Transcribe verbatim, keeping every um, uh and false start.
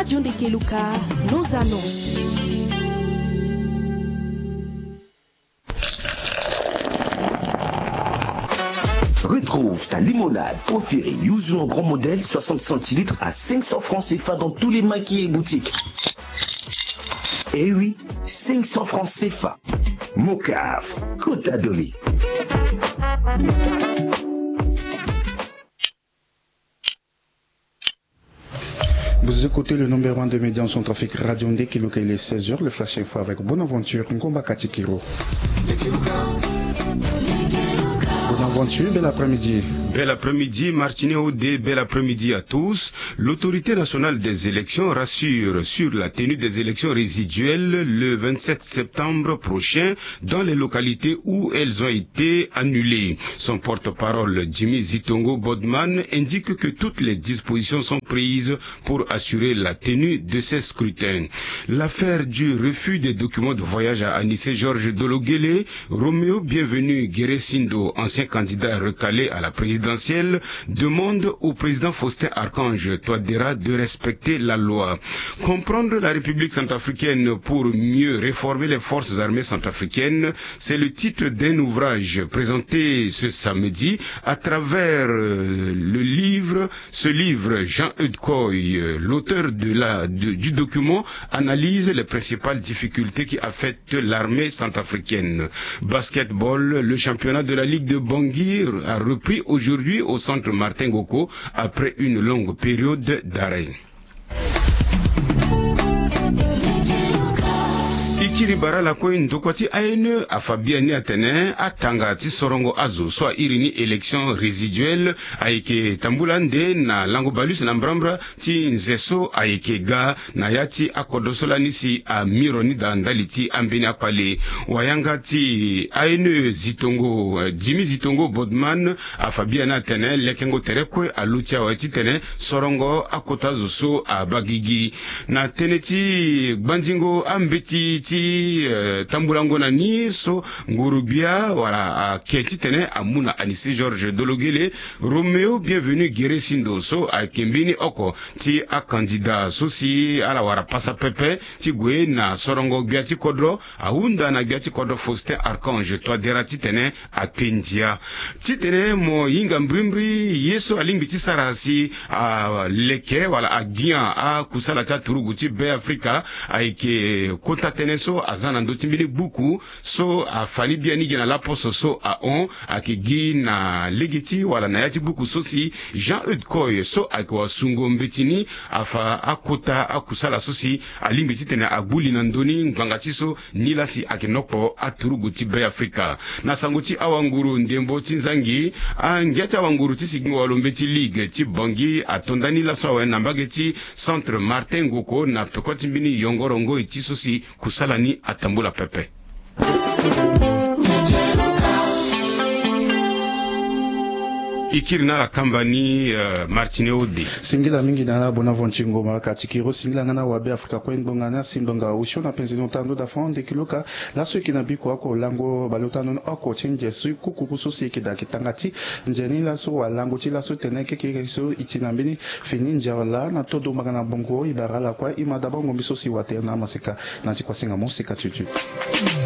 Radio Ndekeluka, nos annonces. Retrouve ta limonade préférée Yuzu en grand modèle soixante centilitres à cinq cents francs C F A dans tous les maquis et boutiques. Eh oui, cinq cents francs C F A. Mocaf, Kota Doli. Vous écoutez le numéro un de médias en Centrafrique, Radio Ndekeluka, il est seize heures, le Flash Info avec Bonaventure Ngomba Katikiro. Bonaventure, bel après-midi. Bel après-midi, Martinet Audé, bel après-midi à tous. L'Autorité nationale des élections rassure sur la tenue des élections résiduelles le vingt-sept septembre prochain dans les localités où elles ont été annulées. Son porte-parole, Jimmy Zitongo Bodman, indique que toutes les dispositions sont prises pour assurer la tenue de ces scrutins. L'affaire du refus des documents de voyage à Anissé Georges Dologuélé, Roméo Bienvenu Guéré Sindo, ancien candidat recalé à la présidentielle, demande au président Faustin Archange Touadéra de respecter la loi. Comprendre la République centrafricaine pour mieux réformer les forces armées centrafricaines, c'est le titre d'un ouvrage présenté ce samedi à travers, euh, le livre, ce livre, Jean-Eudes Koy, euh, l'auteur de la, de, du document, analyse les principales difficultés qui affectent l'armée centrafricaine. Basketball, le championnat de la Ligue de Bangui a repris aujourd'hui au centre Martin Ngoko après une longue période d'arrêt. E kiri bara lakue, ndokua ti A N E afa biani atene atanga ti sorongo azo so a iri ni élection résiduelle ayeke tambula nde na lango baleuse na mbrambra ti nze so ayeke ga na ya ti akodro so lani si amiro ni daa ndali ti ambeni akpale. Wayanga ti A N E Zitongo, eh, Jimmy Zitongo Bodman afa biani atene lekengo tere kue aluti awe titene sorongo akota zo so abaa gigi. Na tënë ti gbanzingo ambeti ti, eh, tambulango na ni so nguru-gbia wala ake titene amu na Anissé Georges Dologuélé, Roméo Bienvenu Guéré Sindo so ayeke mbeni oko ti akandida so si ala wara pasa pepe ti gue na sorongo gbia ti kodro, ahunda na gbia ti kodro Faustin Archange Touadéra titene akpe ndia. Titene mo hinga mbirimbiri ye so alingbi ti sara si aleke wala agbian akusala ti aturugu ti Be Afrika, ayeke kota tënë so aza na ndö ti mbeni buku so afa ni biani gi na laposo so ahon, ayeke gi na lege ti wala na ya ti buku so si Jean-Eudes Koy so ayeke wasungo mbeti ni afa akota akusala so si alingbi titene agbu li na ndö ni ngbanga ti so nilaa si ayeke nokpo aturugu ti Be Afrika. Na sango ti awanguru ndembo ti nzangi, angia ti awanguru ti sigingo walo mbeti Ligue ti Bangui atonda ni laso awe na mbage ti Centre Martin Ngoko na peko ti mbeni yongoro ngoi ti so si kusala ni atambula pepe. E kiri na ala kamba ni, eh, Martinet Ode. Singila mingi na ala Bonaventure Ngoma Katikiro, singila nga na wabe Afrika kue ngbonga na si ngbonga osio na penze ni ota ndo da fond de kiloka. Laso e yeke na biko oko lango baleota ndo oko ti nze so e kukuru so si e yeke daa yeke tanga ti nze ni laso walango ti laso tene kekeke so e ti na mbeni fini nze wala na todo mbanga na bongo e bara ala kue e ma dabango mbi so si watere na amaseka na ti kuasinga mo seka tutu.